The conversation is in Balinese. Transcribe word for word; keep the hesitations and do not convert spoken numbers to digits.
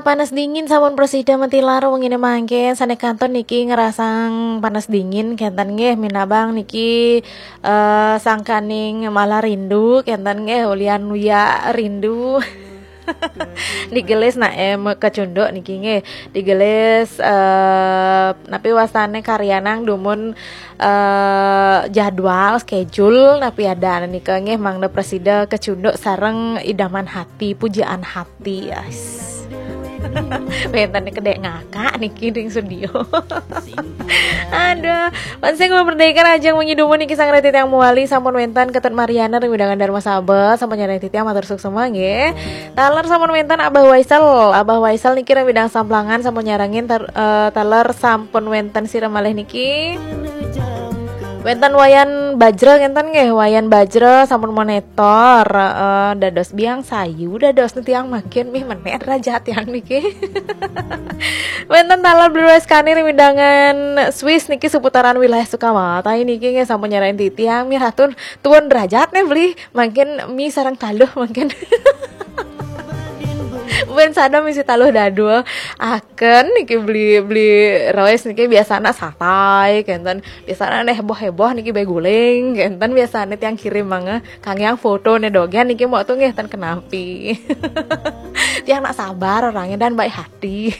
Panas dingin sampun prasida matilar wengine mangke, sane kanton niki ngerasang panas dingin kenten nggih, minabang niki eh, sangkaning malah rindu kenten nggih, ulian uya rindu. Digelis nak em kecunduk niki nggih, digelis eh, napi wastane karyanang dumun eh, jadwal schedule napi ada nika nggih, mangda prasida kecunduk sareng idaman hati, pujaan hati, yes. Wenten kedek ngakak niki ring studio. Aduh, pansing merdeka aja wengi dumun niki sang reti tiang muali sampun wenten Ketut Mariana ring wewidangan Darma Sabet, sampun nyareng titiang matur suksema nggih. Taler sampun wenten Abah Waisel, Abah Waisel niki ring wedang Samplangan sampun nyarengin tar- eh, taler sampun wenten sira malih niki. Wenten Wayan Bajra ngenten nggih, Wayan Bajra sampun monitor eh, dados biang sayu dados tiang makin mih menek raja tiang niki. Wenten taler Beli Weskani ring wewidangan Swiss niki seputaran wilayah Sukawati niki nggih sampun nyarengin titiang mih ratun tuun derajat nih beli makin mih sareng taluh makin. Buen sada misi taluh dadua aken niki beli beli roes niki biasana satai kenten, biasana neh heboh heboh niki beguling kenten, biasana tiang kirim mangga kang yang foto ne dogen niki mau tuh nggih ten kenapi. Tiang nak sabar orangnya dan baik hati.